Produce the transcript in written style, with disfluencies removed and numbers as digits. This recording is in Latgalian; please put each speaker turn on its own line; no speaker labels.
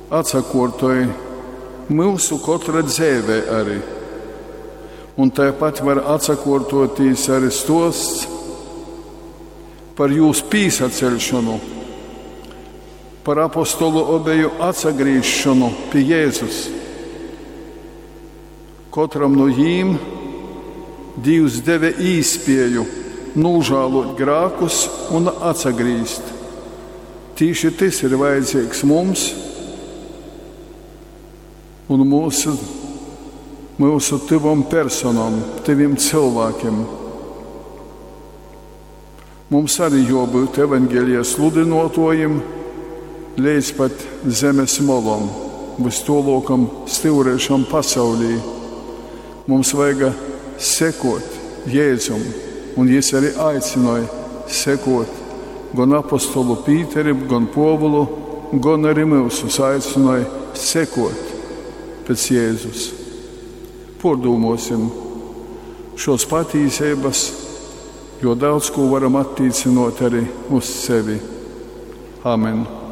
atsakuortoj myusu kotra dzeivē ari. Un taipat var atsakuortuotīs ari stuosts par jūs pīsaceļšonu, par apostolu obeju atsagrīzšonu pi Jēzus. Kotram nu jīm Dīvs deve īspieju nūžāluot grākus un atsagrīzt. Tīši tys ir vajadzīgs mums un mūsu, myusu tyvom personom, tyvim cylvākim. Mums arī juobyut evaņgelija sludynuotuojim leidz pat zemes molom, vystuoluokam styureišam pasaulī. Mums vajaga sekot Jēzum, un jis arī aicynoj sekot gon apostolu Pīteri, gon Puovulu, gon arī myusus aicynoj sekot pēc Jēzus. Puordūmuosim šuos patīseibys, jo daudz kū varam attīcynuot ari uz sevi. Amen.